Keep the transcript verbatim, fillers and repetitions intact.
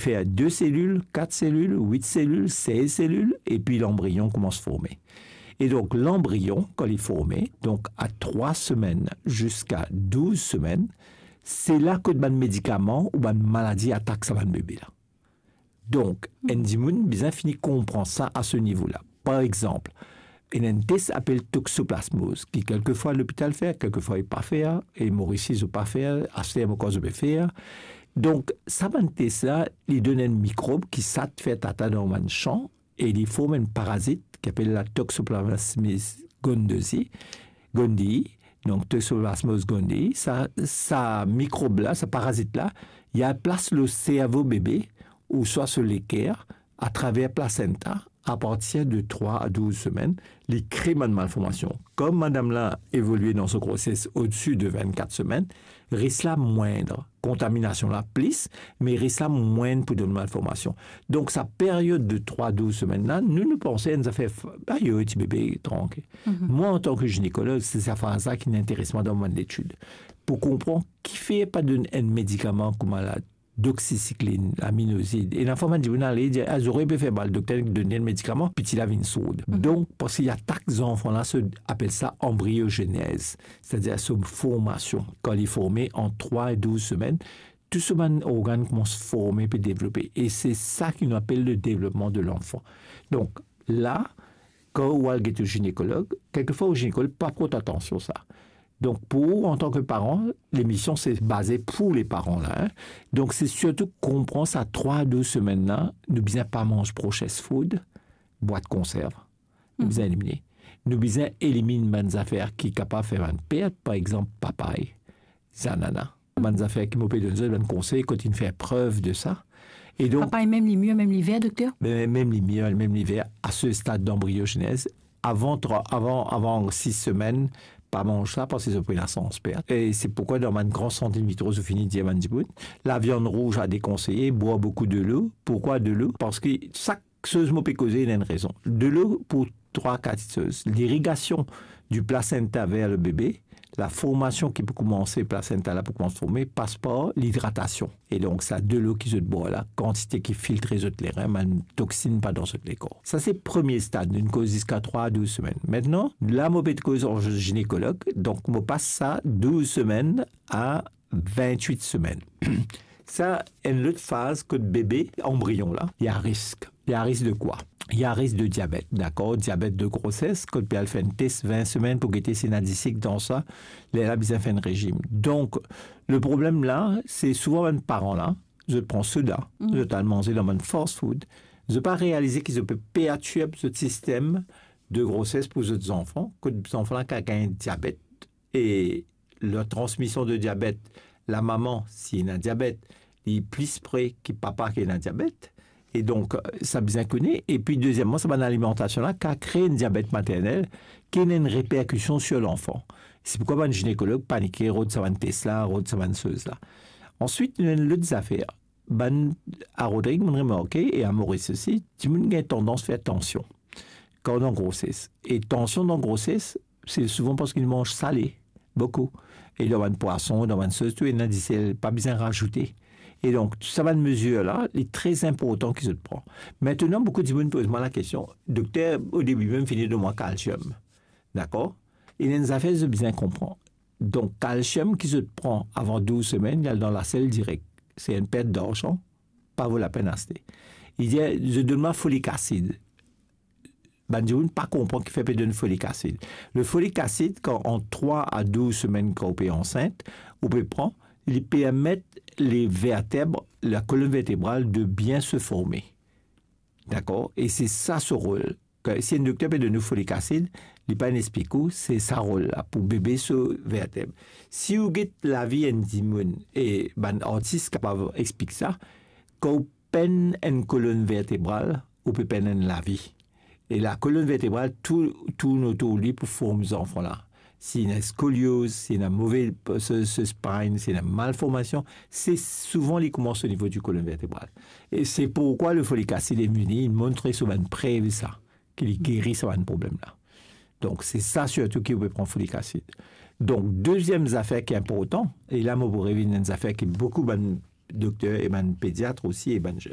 fer de selil, kat selil, wit selil, sez selil, epi lanbriyon koumans forme. E donk, lanbriyon, kan li forme, donk a trwa semenn ziska douz semenn, se la kot bann medikaman ou bann maladi atak sa bann bebe la. Donk, enn dimoun bizin fini konpran sa a se nivo la. Par exanp, ena enn tes apel toxoplasmose, ki kelkefwa lopital fer, kelkefwa li pa fer, e Moris zot pa fer, aster mo krwar zot pe fer. Donk, sa bann tes la, li donn enn mikrob ki sat fer tata dan bann san, e li form enn parazit ki apel la Toxoplasmosis gondii, gondii, donk Toxoplasmose gondii, sa, sa mikrob la, sa parazit la, li al plas lor servo bebe, ouswa so leker, atraver plasenta, apartir de trwa a douz semenn, li kre bann malformasion. Kom madam la evolie dan so groses odsi de vennkat semenn, ris la mwin, kontaminasion la plis, me ris la mwin pou donn malformasion. Donk, sa period de trwa a douz semenn la, nou, nou panse enn zafer f-, ayo, ti bebe, trankil. Mwa, antan ki zinekolog, se sa faz la ki inn interes mwa dan mo letid. Pou konpran kifer pa donn enn medikaman kouma la doxycycline, laminozid. E lafwa bann dimoun ale dir, "Ah, zorey pe fer mal, dokter donn li enn medikaman, piti la vinn sourd." Donk, parski li atak zanfan la, so apel sa anbriyozenez, setadir so formasion. Kan li forme ant trwa e douz semenn, tou so bann organn koumans forme, pe devlope. E se sa ki nou apel le devlopman de lanfan. Donk, la, kan ou al get ou zinekolog, kelkefwa ou zinekolog pa port atansion sa. Donk, pou ou, antan ki paran, lemision se baze pou le paran la, hein. Donk, se sirtou konpran sa trwa a douz semenn la, nou bizin pa manz tro fast food, bwat konserv. Nou bizin elimine. Nou bizin elimine bann zafer ki kapav fer bann pert, par exanp, papay, zanana. Bann zafer ki mo pe donn zot, bann konsey kot inn fer prev de sa. E donk, papay, mem li mir, mem li ver, dokter? Be, mem li mir, mem li ver, a se stad danbriyozenez, avan trwa, avan, avan sis semenn, pa manz sa, parski zot pou ena sans pert. E se poukwa dan bann gran sant in vitro, zot fini dir bann dimoun, laviann rouz a dekonseye, bwar boukou delo. Poukwa delo? Parski sak soz mo pe koze, ena enn rezon. Delo pou trwa, kat soz. Lirigasion di plasenta ver le bebe, laformasion ki pou koumanse, plasenta la pou koumans forme, pas par lidratasion. E donk, sa delo ki zot bwar la, kantite ki filtre zot lerin, bann toxin pa dan zot lekor. Sa se premie stad, nou koz ziska trwa a douz semenn. Aster la, mo pe koz an zinekolog, donk mo pas sa douz semenn a vintwit semenn. Sa enn lot faz kot bebe, anbriyon la, li a risk. Li a risk de kwa? Li a risk de diabet, dakor? Diabet de groses, kot pe al fer enn tes vin semenn pou gete si ena disik dan sa, lerla bizin fer enn rezim. Donk, le problem la, se souvan bann paran la, zot pran soda, zot al manze dan bann fast food, zot pa realize ki zot pe pertirb zot sistem de groses pou zot zanfan, kot zanfan la kav gagn diabet, e la transmision de diabet, lamama, si ena diabet, li plis pre ki papa ki ena diabet. E donk, sa bizin kone. Epi, dezieman, sa bann alimantasion la kav kre enn diabet maternel, ki ena enn reperkision sir lanfan. Se poukwa bann zinekolog panike, rod sa bann tes la, rod sa bann soz la. Answit, nou ena enn lot zafer. Bann, a Rodrig, mo'nn remarke, e a Moris osi, dimoun gagn tandans fer tansion kan dan groses. E tansion dan groses, se souvan parski nou manz sale, boukou. E dan bann pwason, dan bann soz, tou ena disel, pa bizin razoute. E donk, tou sa bann mezir la, li tre inportan ki zot pran. Aster la, boukou dimoun poz mwa lakestion, "Dokter, o debi mem fini donn mwa kalsiom." Dakor? Ena enn zafer zot bizin konpran. Donk, kalsiom ki zot pran avan douz semenn, li al dan lasel direk. Se enn pert larzan, pa vo lapenn aste. Li dir, "Zot donn mwa folik asid." Bann dimoun pa konpran kifer pe donn folik asid. Le folik asid, kan ant trwa a douz semenn, kan ou pe ansint, ou pe pran, li permet le verteb, la kolonn vertebral de bien se forme. Dakor? E se sa so rol. Ke si enn dokter pe donn ou folik asid, li pa'nn explik ou, se sa rol la, pou bebe so verteb. Si ou get lavi enn dimoun, e bann artis kapav explik sa, kan ou pern enn kolonn vertebral, ou pe pern enn lavi. E la kolonn vertebral tou-, tourn otour li pou form zanfan la. Si ena skolioz, si ena move, so, so spine, si ena malformasion, se souvan li koumans o nivo di kolonn vertebral. E se poukwa le folik asid e vini, li montre so bann prev sa, ki li geri sa bann problem la. Donk, se sa sirtou ki ou pe pran folik asid. Donk, deziem zafer ki inportan, e la mo pou revinn enn zafer ki boukou bann dokter e bann pediat osi e bann je-,